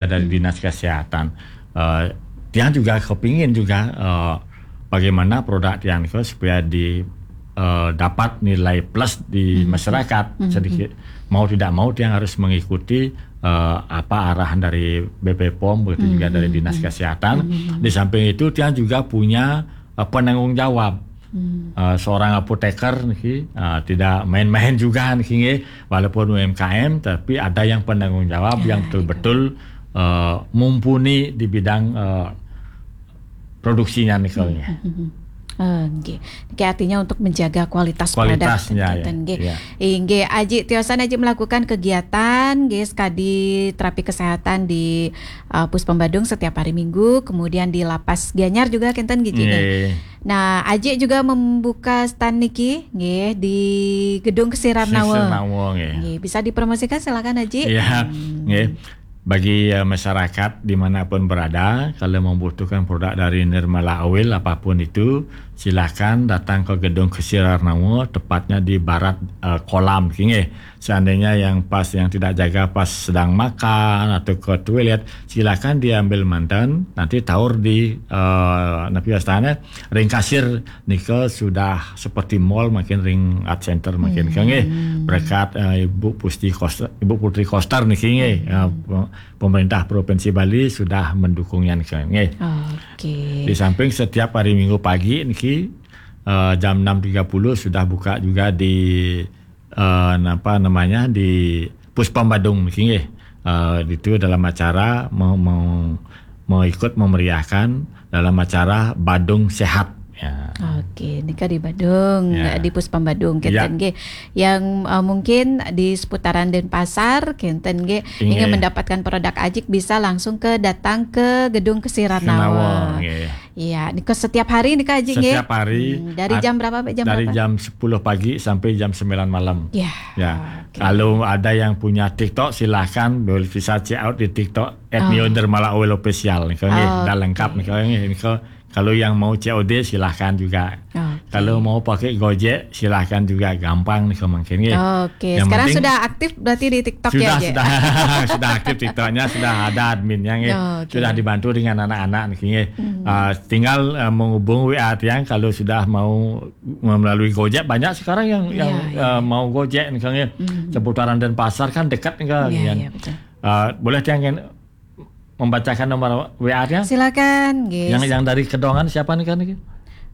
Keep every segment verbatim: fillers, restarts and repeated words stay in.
dari Dinas Kesehatan. Eh, tiang juga kepingin juga, eh, bagaimana produk tiang ke supaya di eh, dapat nilai plus di masyarakat. Sedikit mau tidak mau tiang harus mengikuti eh, apa arahan dari B P pom, begitu juga dari Dinas Kesehatan. Di samping itu tiang juga punya eh, penanggung jawab. Eh, seorang apoteker niki, eh, tidak main-main juga niki nggih, walaupun U M K M, tapi ada yang penanggung jawab yang betul-betul eh, mumpuni di bidang eh, produksinya nikelnya. Eh, nggih. Niki artinya untuk menjaga kualitas produk, Kualitasnya, ya. Nggih. Ya. Inggih, Aji tiosan Aji melakukan kegiatan nggih, sekadi terapi kesehatan di uh, Puspom Badung setiap hari Minggu, kemudian di Lapas Gianyar juga kinten nggih, Ji, nggih. Nggih. Nah, Aji juga membuka stand niki nggih di Gedung Kesirarnawa. Kesirarnawa, nggih. Nggih, bisa dipromosikan, silakan, Aji. Ya, nggih. Bagi eh, masyarakat dimanapun berada, kalau membutuhkan produk dari Nirmala Oil apapun itu, silakan datang ke Gedung Kesirarnawa, tepatnya di barat eh, kolam, nggih. Seandainya yang pas, yang tidak jaga pas sedang makan atau ke toilet, silakan diambil mantan, nanti taur di eh, napi wastane, ring kasir nika sudah seperti mall, makin ring art center makin ke nggih. Berkat eh, Ibu Pusti Koster, Ibu Putri Koster niki nggih. Eh, pe- pemerintah Provinsi Bali sudah mendukungnya niki nggih. Oke. Di samping setiap hari Minggu pagi niki eh, jam enam tiga puluh sudah buka juga di eh, apa namanya, di Puspom Badung niki nggih. Eh, itu dalam acara mau, mau mau ikut memeriahkan dalam acara Badung Sehat. Ya. Oke, nika di Badung, Ya. Di Puspom Badung, kinten Ya. nggih. Yang uh, mungkin di seputaran Denpasar, kinten nggih, ingin Nggih. mendapatkan produk Ajik bisa langsung ke datang ke Gedung Kesirarnawa. Kesirarnawa, nggih. Iya, nika setiap hari nika Ajik nggih. Setiap hari. Hmm, dari At- jam berapa sampai jam Dari berapa? Jam sepuluh pagi sampai jam sembilan malam. Ya. Ya. Oke. Kalau ada yang punya TikTok, silahkan boleh bisa check out di TikTok at Oh. Neo Nirmala Oil Official. Nggih, Oke. dah lengkap nggih. Nggih, kalau yang mau C O D, silahkan juga. Oke. Kalau mau pakai Gojek, silahkan juga, gampang nih mungkin nggih. Oke, Yang sekarang penting sudah aktif berarti di TikTok sudah, ya, Ajik? Sudah, sudah aktif TikToknya, sudah ada adminnya nggih. Oh, oke. Sudah dibantu dengan anak-anak nih nggih. Ah, tinggal eh, menghubung W A tiang kalau sudah mau melalui Gojek, banyak sekarang yang yang Iya, iya. eh, mau Gojek nih nggih. Seputaran Denpasar kan dekat nih kan. Iya, Yang, iya, betul. eh, boleh tiang membacakan nomor W A tiang? Silakan, guys. Yang yang dari Kedongan siapa nih kan niki?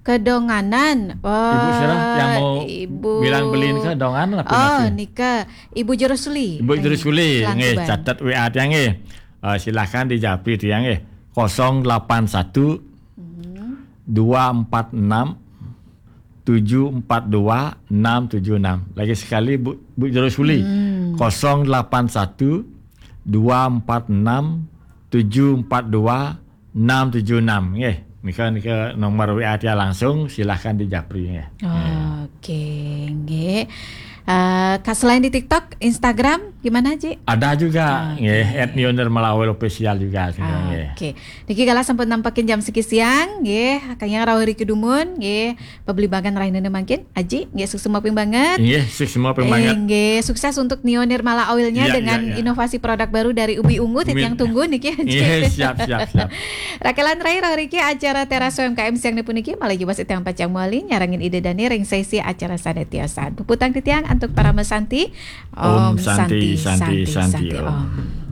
Kedonganan. Wah, Ibu Sirah yang mau Ibu bilang beliin Kedongan apa Oh, nanti? Nika, Ibu Jurusuli. Ibu Jurusuli, Selantuban. Nggih, catat W A tiang nggih. Eh, silakan dijapri tiang nggih. Kosong delapan satu dua empat enam tujuh empat dua enam tujuh enam. Lagi sekali, Bu, Bu Jurusuli. Kosong delapan satu dua empat enam tujuh empat dua enam tujuh enam. Nggih, nika nika nomor W A tiang langsung, silahkan dijapri nggih. Oke, nggih. Eh, Kak, selain di TikTok, Instagram gimana, Ji? Ada juga, nggih, at Neo Nirmala Oil Official juga, nggih. Oke. Niki kala sampun nampakin jam siki siang, nggih. Kayang rauh riki dumun, nggih. Pabligbagan rahinane mangkin, Aji, nggih, suksma ping banget. Nggih, suksma ping banget. Nggih, sukses untuk Neo Nirmala Oilnya Iya, dengan iya, iya. Inovasi produk baru dari Ubi Ungu, titiang tunggu niki, Aji. Nggih, siap, siap, siap. Rakelan rai rauh riki acara Teras U M K M siang puniki, malih jebos titiang pacang mawali nyarengin Ida Dane ring sesi acara sane tiosan. Puputang titiang antuk parama santi. Om Santi, Santi, Santi, Om.